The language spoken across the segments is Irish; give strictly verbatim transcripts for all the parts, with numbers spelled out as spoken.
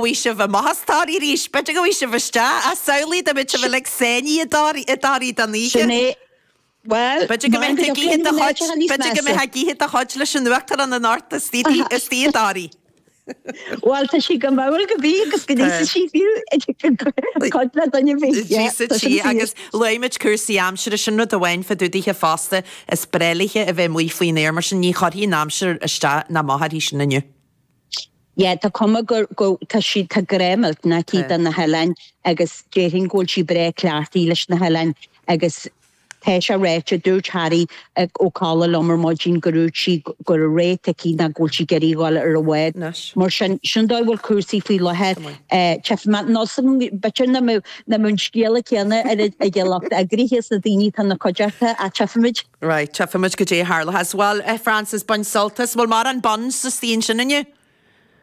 bhfuil sibh amach as Toraigh arís, b'fhéidir go bhfuil sibh isteach, ach samhlaigh dá mbeadh sibh uilig sáinnithe i dToraigh i dToraigh don oíche. Sin é. Bhuel, B'fhéidir go mbeadh ag ithe do chuid, b'fhéidir go mbeadh ag ithe do chuid leis an Uachtarán anocht istigh i dToraigh. Bhuel, tá sí go mall go bí agus go n-íosfaidh sí fiú cuid le duine ar bith. Yeah, tá sin fíor. Agus luaigh muid cúrsaí aimsire, sin rud amháin fá dtaobh daoithe fosta, is breá léithe a bheith amuigh faoin aer, mar sin ní chuirfidh an aimsir isteach ná amach uirthi sin inniu. Yeah, tá cuma gur, go, tá sí, tá grá millteanach aici do na hoileáin agus déarfainn go bhfuil sí breá cleachtaithe leis na hoileáin agus Tá sé ráite, dúirt Harry Ó Colla liom ar maidin go ndúirt sí go raibh ré aici ná go bhfuil sí ag iarraidh a dhul ar an bhád. Mar sin, sin dóigh a bhfuil cúrsaí faoi láthair. Tchífidh mé, nós b'fhéidir nach mbeadh an scéala céanna ag an lucht eagraithe is na daoine atá ina cuideachta ach tchífimid. Right, tchífimid goidé a tharlóchas. Bhuel, a Frances, bain sult as. Bhfuil mórán buns istigh ansin inniu?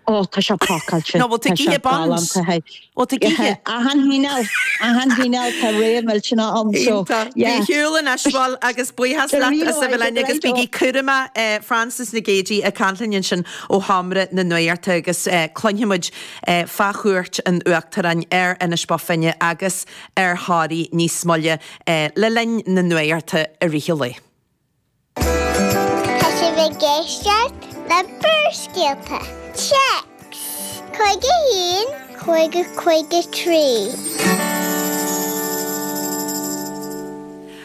Ó, tá sé pacáilte. Nó bhfuil tú Tá ag sé ithe buns? galánta. Bhfuil tú ag ithe? Achan chineál, achan chineál, tá rogha millteanach ann, so, Iontach. Bí yeah. ar shiúl anois, bhuel, agus buíochas Go leat raibh as a bheith míle linn maith agus agat, bígí cúramach, Frances Nic Géadaigh ag caint linn ansin ó Sheomra na Nuachta agus cluinfidh muid fá chuairt an Uachtaráin ar Inis Bó Finne agus ar Thoraigh níos moille le linn na Nuachta i rith an lae. Tá sibh ag éisteacht le Barrscéalta. Téacs cúig a haon, cúig a cúig a trí.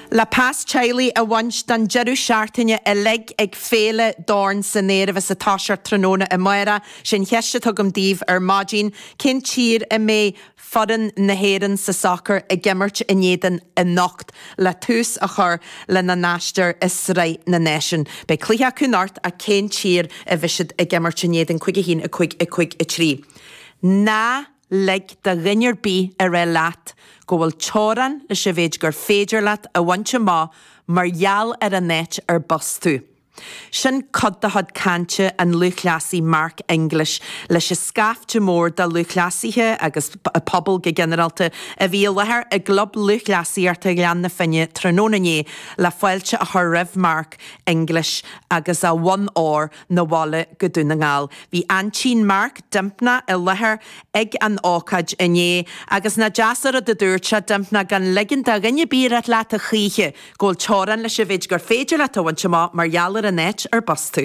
Le pas teaghlaigh a bhaint don deireadh seachtaine uilig ag Féile Dorn san Aer a bheas ag toiseacht tráthnóna amárach, sé an cheist atá agam daoibh ar maidin, cén tír a mbeidh foireann na hÉireann sa sacar ag imirt in éadan anocht le tús a chur lena n-aistear i Sraith na Náisiún. Beidh cluiche acu anocht ach cén tír a bheidh siad ag imirt in éadan cúig a haon a cúig a cúig a trí? Ná lig do dhuine ar bith a rá leat go bhfuil teorainn leis an mhéid gur féidir leat a bhaint amach mar gheall ar an áit ar b'as tú. Sin cuid de chuid cainte an lúthchleasaí Mark English leis an scaifte mór de lúthchleasaithe agus pobal go ginearálta a bhí i láthair i gClub Lúthchleasaíochta Ghleann na Finne tráthnóna inné le fáilte a chur roimh Mark English agus a bhonn óir 'na bhaile go Dún na nGall. Bhí aintín Mark, Dympna, i láthair ag an ócáid inné agus nach deas an rud a dúirt sé, Dympna, gan ligean do dhuine ar bith a rá leat a choíche go bhfuil teorainn leis an mhéid gur féidir leat a bhaint amach mar gheall ar an áit ar b'as tú.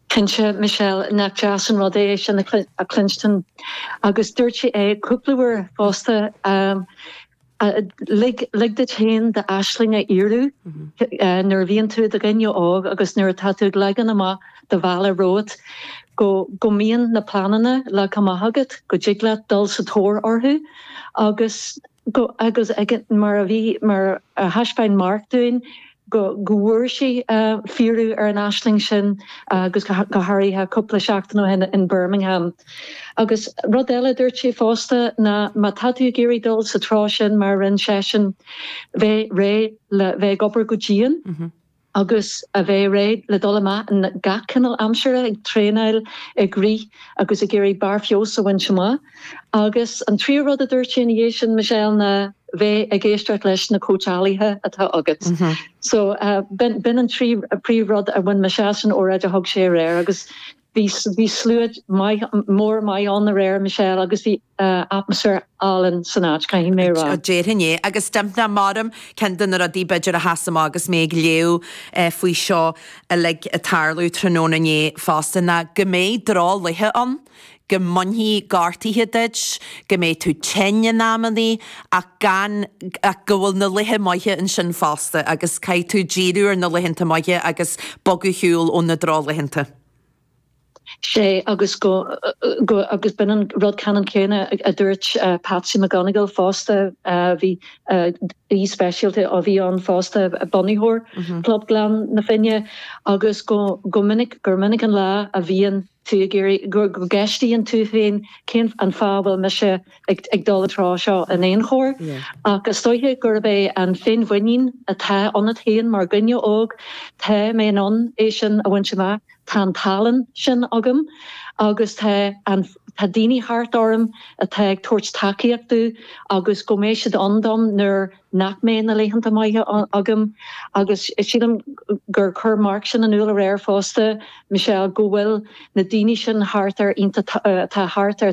Cinnte, Michelle, nach deas an rud é sin a chluinstin. Agus dúirt sé é cúpla uair fosta, lig duit féin d'aisling a fhíorú nuair a bhíonn tú i do dhuine óg agus nuair atá tú ag leagan amach do bhealach romhat, go go mbíonn na pleananna leagtha amach agat, go dtig leat dul sa tóir orthu agus go agus mar a bhí mar a thaispeáin Mark dúinn go go bhfuair sé fíorú ar an aisling sin agus go háirithe cúpla seachtain ó shin in Birmingham. Agus rud eile a dúirt sé fosta ná má tá tú ag iarraidh dul sa treo sin mar a rinne seisean, bheith réidh le bheith ag obair go dian. agus a bheith réidh le dul amach in gach cineál aimsire, ag traenáil, ag rith agus ag iarraidh barr feabhais a bhaint amach. Agus an tríú rud a dúirt sé ina dhiaidh sin, Michelle, ná bheith ag éisteacht leis na cóitseálaithe atá agat. So b'in an trí príomhrud a bhain mise as an óráid a thug sé aréir agus bhí bhí slua maith mór maith ann aréir, Michelle, agus bhí atmaisféar álainn san áit, caithfidh mé a rá. Déarfainn é. Agus Dympna, maram, ceann de na rudaí b'fhéidir a sheas amach agus mé ag léamh faoi seo uilig ag tarlú tráthnóna inné fosta ná go mbeidh drochlaetha ann, go mbainfidh gortuithe duit, go mbeidh tú tinn in amannaí ach gan, ach go bhfuil na laetha maithe ansin fosta agus caithfidh tú díriú ar na laethanta maithe agus bogadh ar shiúl ó na drochlaethanta. Sé agus go, go, agus b'in an rud ceannann céanna a dúirt Patsy McGonigal fosta, bhí aoi speisialta a bhí ann fosta, bunaitheoir Chlub Ghleann na Finne, agus go, go minic, gur minic an lá a bhíonn tú ag iarraidh, go, go gceistíonn tú féin cén an fáth a bhfuil mise ag, ag dul an treo seo in aon chor. Ach is dóiche gurb é an féinmhuinín atá ionat féin mar dhuine óg, tá mé in ann é sin a bhaint amach. Tá an tallann sin agam agus tá an tá daoine thart orm atá ag tabhairt tacaíocht agus go mbeidh siad ann dom nuair nach mbeidh na laethanta maithe agam agus sílim gur chuir Mark sin in iúl aréir fosta Michelle go bhfuil na daoine sin thart ar atá thart ar